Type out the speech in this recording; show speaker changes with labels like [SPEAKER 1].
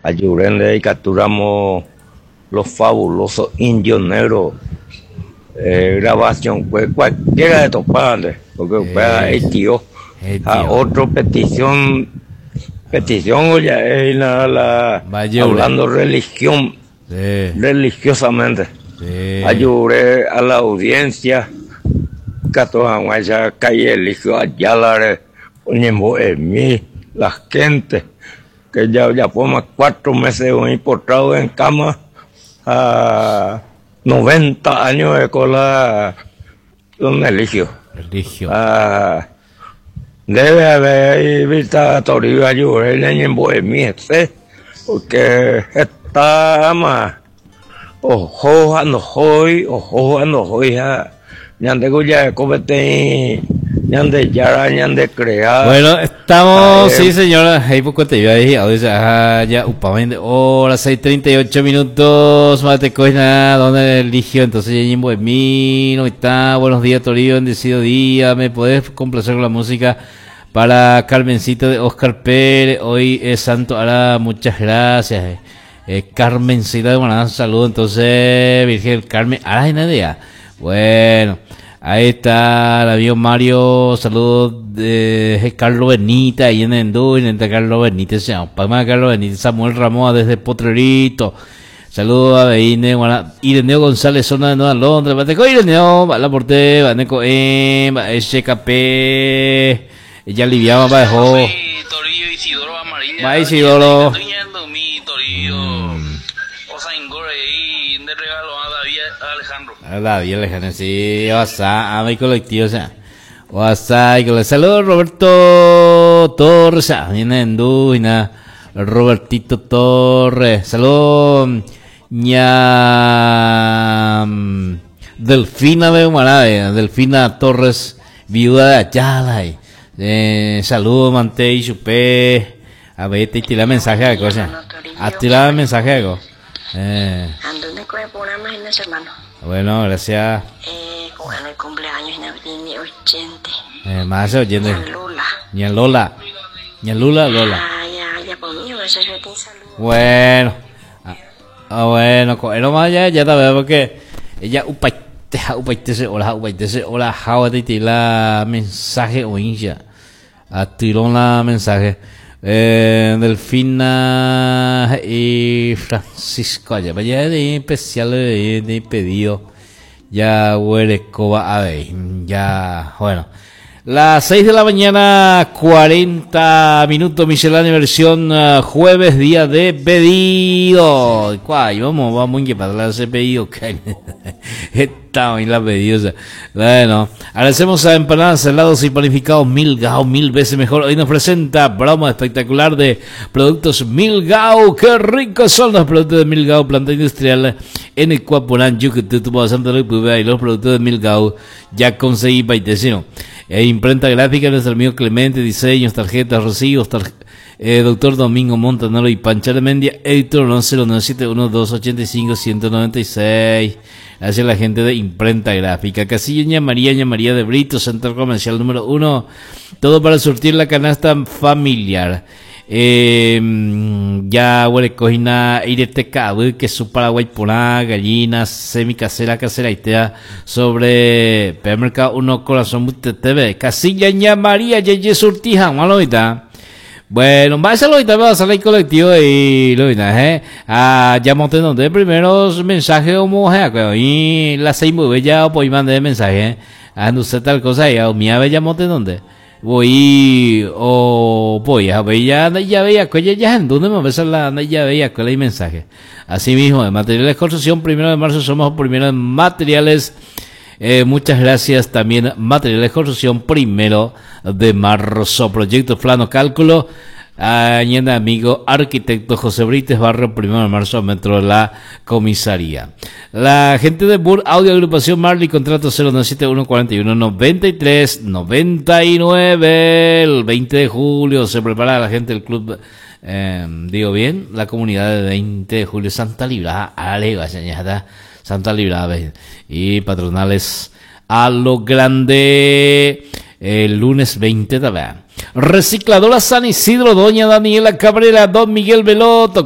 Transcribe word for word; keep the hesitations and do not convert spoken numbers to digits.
[SPEAKER 1] Ayurende ikatúramo Los Fabulosos Indios Negros eh, grabación pues cualquiera de topánte, porque upéva etio. Ha otro petición petición ya es la, la hablando religión
[SPEAKER 2] Sí.
[SPEAKER 1] religiosamente.
[SPEAKER 2] Sí.
[SPEAKER 1] Ayure a la audiencia katu hag̃uáicha calle Eligio Ayala-re oñembo'emi la gente que ya ojapóma cuatro meses oĩ postrado en cama ha noventa años oiko la don Eligio.
[SPEAKER 2] Eligio.
[SPEAKER 1] Ha ndéve avei Vita Toribio ayure ñañembo'emi hese porque hetáma oho ha ndohói, oho ha ndohói ha ñandéko ja'eko peteĩ Ñandejára ñande crea.
[SPEAKER 2] Bueno, estamos, sí señora, ahí poco te iba a decir, ajá, ya upamente, hora seis treinta y ocho minutos, mate coina, donde eligió, entonces ya ñembo'emi, no está, buenos días Toribio, bendecido día, me podés complacer con la música para Carmencita de Oscar Pérez, hoy es Santo Ara, muchas gracias, eh. Eh, Carmencita de Guanajuato, saludo, entonces, Virgen Carmen, Ara y nadie, bueno, ahí está el amigo Mario, saludos de Carlos Benítez, ahí en Endú, en Carlos Benítez, se llama, Palma Carlos Benítez, Samuel Ramón desde Potrerito, saludos a Beine, Guana, Ireneo González, zona de Nueva Londres, Bateco Ireneo, va la porte, Baneco M, va S K P, ella aliviaba, va dejó.
[SPEAKER 3] Toribio Isidoro Amarilla.
[SPEAKER 2] Va Isidoro.
[SPEAKER 3] Toribio. O sea, ahí de regalo a David Alejandro.
[SPEAKER 2] A David Alejandro, sí, WhatsApp, a mi colectivo, o sea. WhatsApp, y con saludos Roberto Torres, ah, viene en Duina, Robertito Torres, saludos ña Delfina de Humanade, Delfina Torres, viuda de Ayala, eh, saludos Mante y Chupé, a ver, te tira mensaje a cosa, a tirar mensaje algo. Eh.
[SPEAKER 4] Ando con el programa en ese hermano.
[SPEAKER 2] Bueno, gracias.
[SPEAKER 4] Eh, con el cumpleaños en abril ochenta.
[SPEAKER 2] Eh, más oyente.
[SPEAKER 4] Ña Lola.
[SPEAKER 2] Ña Lola. Ña Lula, Lola.
[SPEAKER 4] Ah, ya, ya, por mí, eso yo te saludo.
[SPEAKER 2] Bueno. Ah, ah, bueno, co-, más ya, ya te veo porque ella upaite, upaite, se, hola, upaite, se, hola, jawa, te tira mensaje o hincha. A tirón la mensaje. Eh, Delfina y Francisco allá, vaya de especial de, de pedido. Ya huele coba a ver, ya, bueno. Las seis de la mañana, cuarenta minutos, miscelánea versión, uh, jueves, día de pedido. ¿Cuál? Vamos, vamos a para ese pedido. Está hoy la pedido. Bueno, agradecemos a Empanadas, Helados y Panificados Milgao, mil veces mejor. Hoy nos presenta promo espectacular de productos Milgao. ¡Qué ricos son los productos de Milgao! Planta industrial en el Cuaporán, Yucatán, Santa Luz, y los productos de Milgao ya conseguí paitecino. E imprenta gráfica, nuestro amigo Clemente, diseños, tarjetas, recibos, tar-, eh, doctor Domingo Montanaro y Pancha de Mendia, editor once cero nueve siete uno dos ochenta y cinco ciento noventa y seis. Gracias a la gente de imprenta gráfica. Casillo Ña María, Ña María de Brito, Centro Comercial número uno. Todo para surtir la canasta familiar. Eh, ya huele cojina, ireteca, que su Paraguay por gallina, semi casera, casera y tea sobre P M K uno Corazón T V. Casilla Ña María, Yeye Surtija, malomita. Bueno, va a ser lo va a salir colectivo y lo ¿eh? Ah, ya monté donde primeros mensajes como y la seis muy bella pues mandé mensaje, ¿eh? Ah, no sé tal cosa y a mi ave ya monté donde voy o voy a ver ya, ya veía que ya en donde me ves la ya veía que hay mensaje. Así mismo, de materiales de construcción, primero de marzo somos primero en materiales. Eh, muchas gracias también materiales de construcción, primero de marzo. Proyecto Plano Cálculo, añade amigo arquitecto José Brites, barrio primero de marzo, metro de la comisaría. La gente de Bur Audio Agrupación Marley, contrato cero nueve siete uno cuarenta y uno noventa y tres noventa y nueve. El veinte de julio se prepara la gente del club, eh, digo bien, la comunidad de veinte de julio, Santa Librada, Ale, vaya, ya está. Santa Librada y patronales a lo grande el lunes veinte también. Recicladora San Isidro, doña Daniela Cabrera, don Miguel Veloto.